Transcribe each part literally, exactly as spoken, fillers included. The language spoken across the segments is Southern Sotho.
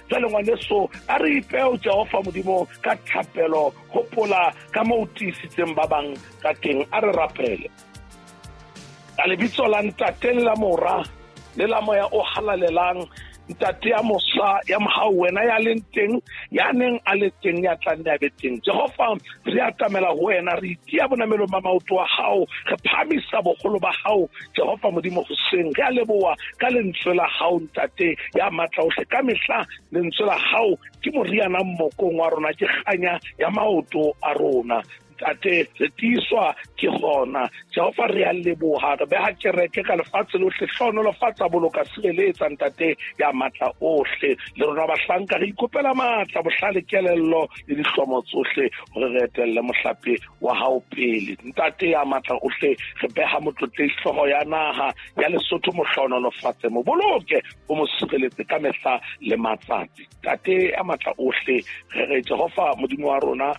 Jwale ngwaneso, a re ipeo Jehova Modimo ka thapelo, hopola ka moo o tiisitseng ba bang ka teng. A re rapele. Ka lebitso la Ntate le la Mora le la Moya o Halalelang, Ntate ya mosa ya mohau, wena ya leng teng, ya neng a le teng, ya tlang ya be teng. Jehova, re atamela ho wena, re itia bonamelong ba maoto a hao, re phahamisa boholo ba hao Jehova Modimo hoseng. Re a leboha ka lentswe la hao Ntate ya matla ohle. Ka mehla lentswe la hao ke moriana mmokong wa rona, ke kganya ya maoto a rona. Ntate, re tiiswa ke gona. Jehova, re a leboha, re beha kereke ka lefatshe lohle, hlohonolofatsa, boloka, sireletsa Ntate ya matla ohle. Le rona bahlanka re ikopela matla, bohlale, kelello le dihlomo tsohle hore re etelle mohlape wa hao pele. Ntate ya matla ohle, re beha motlotlehi hlooho ya naha ya Lesotho, mo hlohonolofatse, mo boloke, o mo sireletse ka mehla le matsatsi. Ntate ya matla ohle, re re Jehova Modimo wa rona,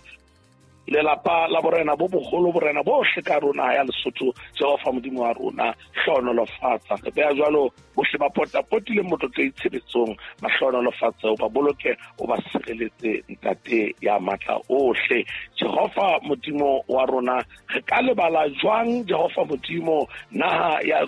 lelapa la borena bo boholo, borena bohle ka rona ya Lesotho, Jehova Modimo wa rona, hlohonolofatsa. Re beha jwalo bohle ba potapotileng motlotlehi tshebetsong, ba hlohonolofatse, o ba boloke, o ba sireletse Ntate ya matla ohle. Jehova Modimo wa rona, re ka lebala jwang Jehova Modimo naha ya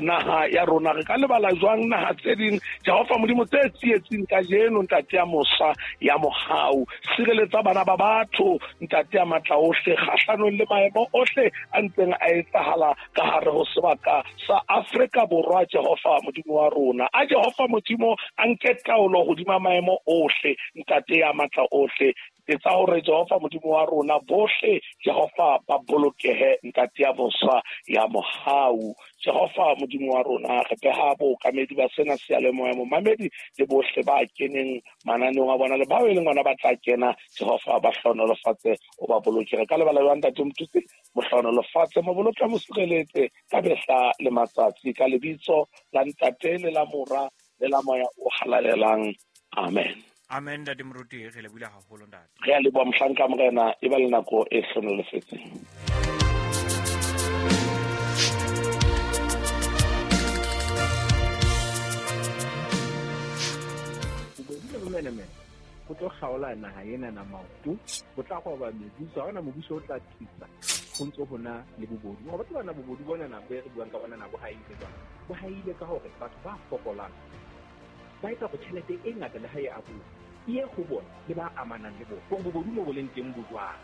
naha ya rona? Re ka lebala jwang naha tse ding Jehova Modimo tse tsietsing kajeno? Ntate ya mosa ya mohau, sireletsa bana ba batho Ntate ya matla ohle kgahlanong le maemo ohle a ntseng a etsahala ka hare ho sebaka sa Afrika Borwa. Jehova Modimo wa rona, a Jehova Modimo a nke taolo hodima maemo ohle Ntate ya matla ohle. Etsa hore Jehova Modimo wa rona bohle Jehova ba bolokehe Ntate ya mosa ya mohau. Jehova Modimo wa rona, re beha bookamedi ba sena seyalemoya, momamedi le bohle ba keneng mananeong a bona le bao e leng ona ba tla kena, Jehova ba hlohonolofatse, o ba boloke. Re ka lebala jwang Ntate Motutsi? Mo hlohonolofatse, mo boloke, mo sireletse ka mehla le matsatsi, ka lebitso la Ntate le la Mora le la Moya o Halalelang. Amen. Amen. Ntate Moruti, re lebohile haholo ntate. Re a leboha mohlanka Morena, e ba le nako e hlohonolofetseng. Bobodu le bomenemene bo tlo kgaola naha ena na maoto, bo tla roba mebuso, ha hona mobuso o tla tlisa ho ntso hona le bobodu. Wa batho bana bobodu bona na bo re buang ka bona na bo haile jwang? Bo haile ka hore batho ba fokolang ba etsa hore tjhelete e ngata le ha e abuwa e ye ho bona le ba amanang le bona. Hore bobodu mo bo leng teng bo jwang.